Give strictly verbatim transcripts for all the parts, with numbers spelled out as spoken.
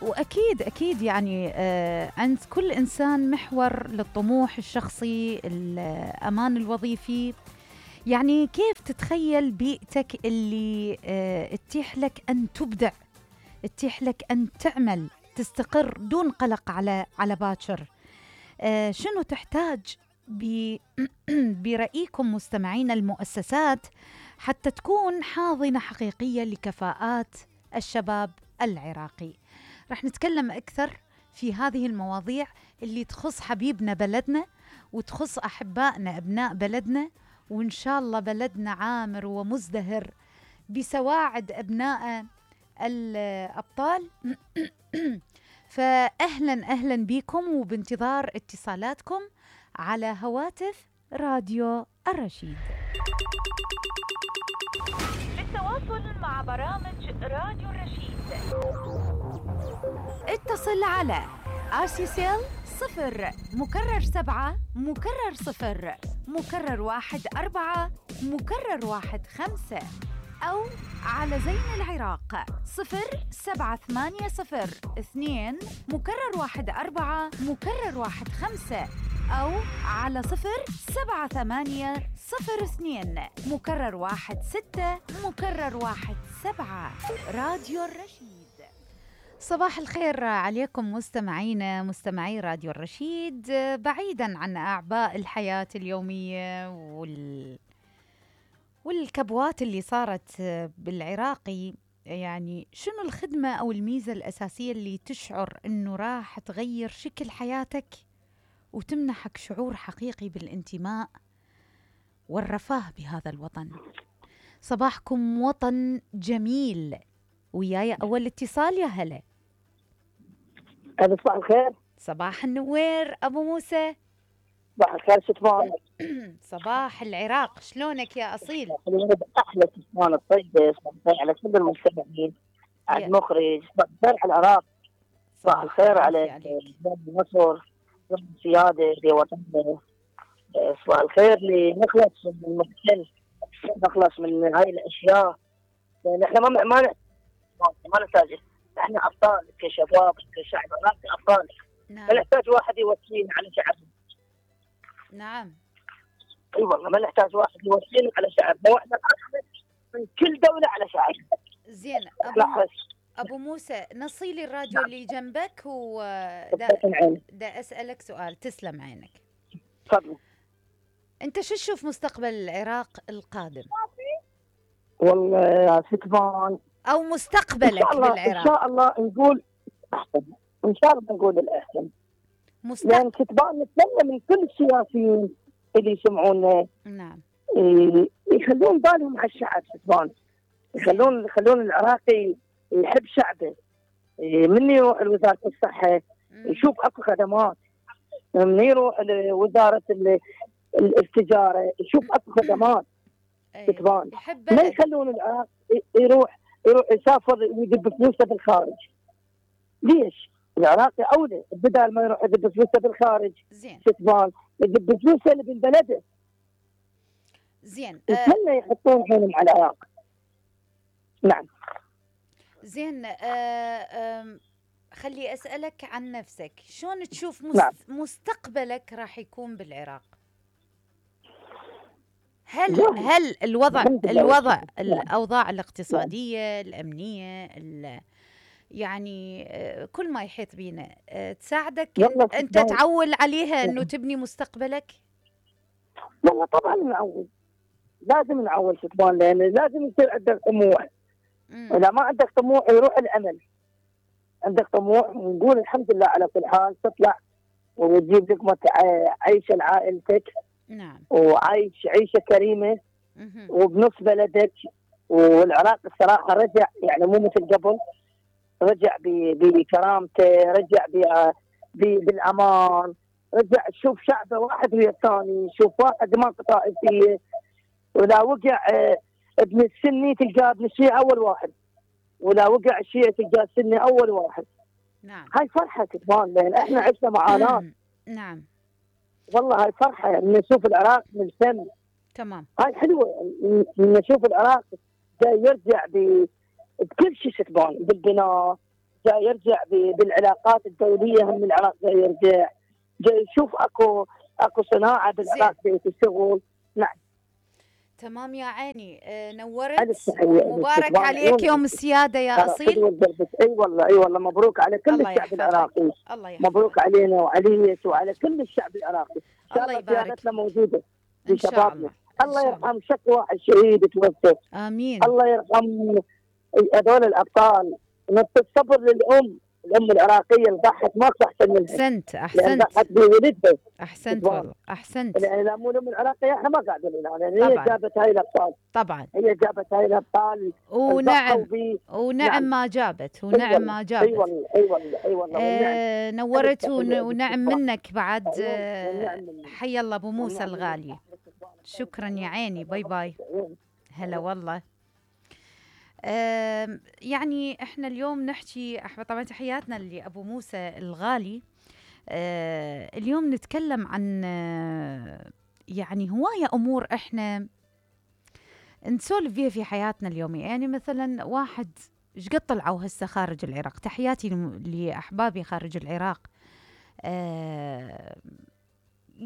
وأكيد أكيد يعني آه عند كل إنسان محور للطموح الشخصي، الأمان الوظيفي. يعني كيف تتخيل بيئتك اللي آه تتيح لك أن تبدع، تتيح لك أن تعمل، تستقر دون قلق على على باكر؟ آه شنو تحتاج برأيكم مستمعين المؤسسات حتى تكون حاضنة حقيقية لكفاءات الشباب العراقي؟ رح نتكلم أكثر في هذه المواضيع اللي تخص حبيبنا بلدنا وتخص أحبائنا أبناء بلدنا، وإن شاء الله بلدنا عامر ومزدهر بسواعد أبناء الأبطال. فأهلا أهلا بكم وبانتظار اتصالاتكم على هواتف راديو الرشيد. للتواصل مع برامج راديو الرشيد اتصل على آسيسيل صفر مكرر سبعة مكرر صفر مكرر واحد أربعة مكرر واحد خمسة، أو على زين العراق صفر سبعة ثمانية صفر اثنين مكرر واحد أربعة مكرر واحد خمسة، أو على صفر سبعة ثمانية صفر اثنين مكرر واحد ستة مكرر واحد سبعة. راديو الرشيد. صباح الخير عليكم مستمعينا مستمعي راديو الرشيد، بعيدا عن أعباء الحياة اليومية وال والكبوات اللي صارت بالعراقي. يعني شنو الخدمة أو الميزة الأساسية اللي تشعر أنه راح تغير شكل حياتك وتمنحك شعور حقيقي بالانتماء والرفاه بهذا الوطن؟ صباحكم وطن جميل. وياي أول اتصال، يا هلا. صباح الخير. صباح النوير أبو موسى. صباح الخير شتمان. صباح العراق، شلونك يا أصيل؟ أحلى شتمان الطيبة. صباح الخير على كل المستمعين، على المخرج، صباح الخير على العراق، صباح الخير على مصر، السيادة في وطننا. صباح الخير لنخلص من المحتل، نخلص من هاي الأشياء. نحن ما ما ما نحتاج، نحن أبطال كشباب كشعب عراقي، أبطال. نعم. ما نحتاج واحد يوصينا على شعبنا. نعم. اي والله ما نحتاج واحد يوصينا على شعبنا، واحنا الأخذ من كل دولة على شعبنا. زين أبو, أبو موسى، نصيلي الراديو نعم. اللي جنبك ودا دا أسألك سؤال. تسلم عينك. تفضل. أنت شو تشوف مستقبل العراق القادم؟ والله يا ستمان، أو مستقبلك بالعراق؟ إن شاء الله نقول أحسن، إن شاء الله نقول الأحسن. مستقبل. يعني ستمان نتمنى من كل السياسيين اللي يسمعونا نعم يخلون بالهم على الشعب ستمان، يخلون يخلون العراقي يحب شعبه. من يروح لوزارة الصحة يشوف اكو خدمات، من يروح لوزارة التجارة يشوف اكو خدمات. ستمان ما يخلون العراق يروح يروح يسافر ويدب فلوسه بالخارج. ليش؟ العراقي اولى بدل ما يروح يدب فلوسه بالخارج. زين. ستمان يدب فلوسه اللي ببلده. زين. يتمنى يحطون عينهم على العراق. نعم. زين. آه آه خلي أسألك عن نفسك، شلون تشوف مست... نعم. مستقبلك راح يكون بالعراق؟ هل نعم. هل الوضع الوضع نعم. الأوضاع الاقتصادية نعم. الأمنية ال... يعني كل ما يحيط بينا تساعدك أنت تعول عليها أنه تبني مستقبلك؟ والله طبعا نعول، لازم نعول شتمان، لأن لازم يصير عندك طموح. إذا ما عندك طموح يروح الأمل. عندك طموح ونقول الحمد لله على كل حال، تطلع وتجيب لقمة عيشة لعائلتك. نعم. وعيش عيشة كريمة وبنص بلدك. والعراق الصراحة رجع، يعني مو مثل قبل، رجع بكرامته، رجع بالأمان، رجع تشوف شعبه واحد ويا الثاني، شوف واحد ما طائفية، ولا وقع ابن السني تلقاه ابن الشيعة أول واحد، ولا وقع الشيعة تلقاه السني أول واحد. نعم. هاي فرحة كمان، لأن احنا عشنا معاناة. نعم. والله هاي فرحة يعني نشوف العراق ملتم. تمام. هاي حلوة نشوف العراق جاي يرجع بكل شيء ستبان، بالبناء جاي يرجع بالعلاقات الدوليه، هم العراق جاي يرجع، جاي يشوف اكو اكو صناعه بالعراق جاي تشتغل. نعم تمام يا عيني. آه نورت ومبارك عليك يوم السياده يا اصيل. اي والله اي والله مبروك على كل الشعب العراقي. الله يحفظك. مبروك علينا وعليك وعلى كل الشعب العراقي. ان شاء الله الله قيادتنا موجوده ان شاء الله. الله يرحم شكوى الشهيد توفى. امين. الله يرحم هذول الابطال. نص الصبر للام، الام العراقيه اللي ضحت ماكو احسن منها. احسنت احسنت. ضحت بولدها. احسنت والله احسنت. يعني لا مو الام العراقيه احنا ما قاعدين هنا، يعني هي جابت هاي الابطال. طبعا هي جابت هاي الابطال. ونعم ونعم ما جابت ونعم ما جابت. اي والله اي والله اي والله. آه نورت ونعم منك بعد. آه حي الله ابو موسى الغالي. شكرا يا عيني. باي باي. هلا والله. آه يعني احنا اليوم نحكي طبعا تحياتنا لابو موسى الغالي. آه اليوم نتكلم عن آه يعني هوايه امور احنا نسولف فيها في حياتنا اليوميه. يعني مثلا واحد ايش قد طلعوا هسه خارج العراق. تحياتي لاحبابي خارج العراق. آه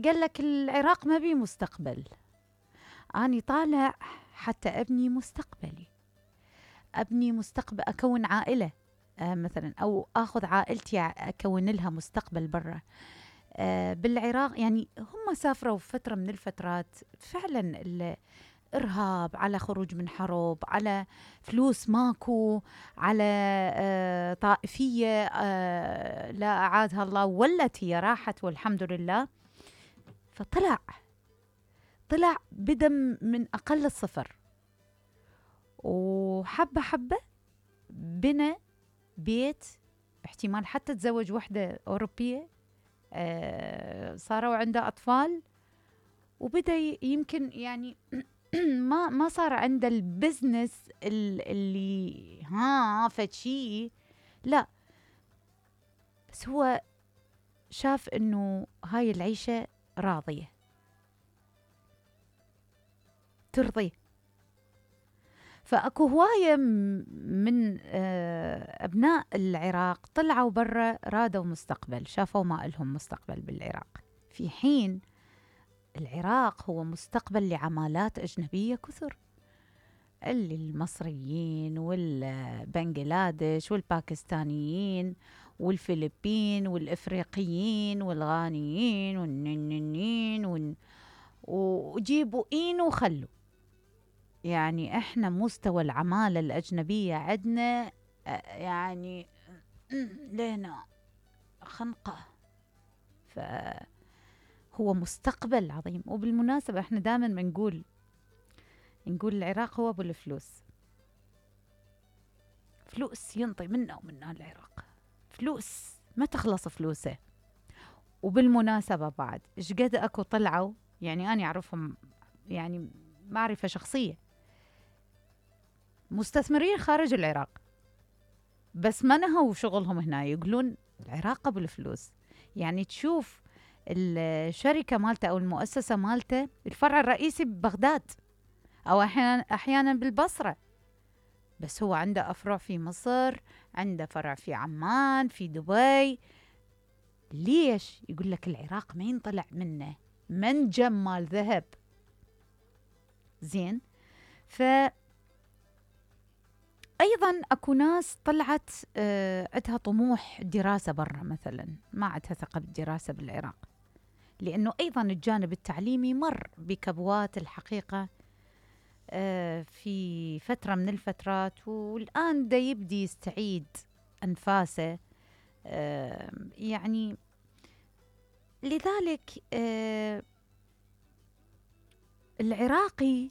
قال لك العراق ما بي مستقبل. اني طالع حتى ابني مستقبلي، ابني مستقبل، اكون عائله آه مثلا، او اخذ عائلتي اكون لها مستقبل برا آه بالعراق. يعني هم سافروا في فتره من الفترات فعلا الارهاب، على خروج من حرب، على فلوس ماكو، على آه طائفيه آه لا اعادها الله، ولت هي راحت والحمد لله. فطلع طلع بدم من اقل الصفر، وحبة حبة بنى بيت، احتمال حتى تزوج وحدة أوروبية، آه صاروا عنده أطفال، وبدأ يمكن يعني ما ما صار عنده البزنس اللي ها فشي، لا، بس هو شاف إنه هاي العيشة راضية ترضيه. فأكو هواية من أبناء العراق طلعوا برا، رادوا مستقبل، شافوا ما إلهم مستقبل بالعراق، في حين العراق هو مستقبل لعمالات أجنبية كثر، اللي المصريين والبنغلاديش والباكستانيين والفلبين والإفريقيين والغانيين والننين وجيبوا إين وخلوا. يعني احنا مستوى العمالة الأجنبية عندنا يعني لنا خنقة، فهو مستقبل عظيم. وبالمناسبة احنا دائما بنقول نقول العراق هو ابو الفلوس، فلوس ينطي منا ومنا العراق، فلوس ما تخلص فلوسه. وبالمناسبة بعد ايش قد اكو طلعوا، يعني انا اعرفهم يعني معرفة شخصية، مستثمرين خارج العراق، بس ما نهوا شغلهم هنا، يقولون العراق ابو الفلوس. يعني تشوف الشركة مالته أو المؤسسة مالته الفرع الرئيسي ببغداد، أو أحيانا أحيانا بالبصرة، بس هو عنده أفرع في مصر، عنده فرع في عمان، في دبي. ليش؟ يقول لك العراق ما ينطلع منه منجم مال ذهب. زين. ف أيضا أكو ناس طلعت آه عندها طموح دراسة برا مثلا، ما عندها ثقة بالدراسة بالعراق، لأنه أيضا الجانب التعليمي مر بكبوات الحقيقة آه في فترة من الفترات، والآن دا يبدي يستعيد أنفاسه. آه يعني لذلك آه العراقي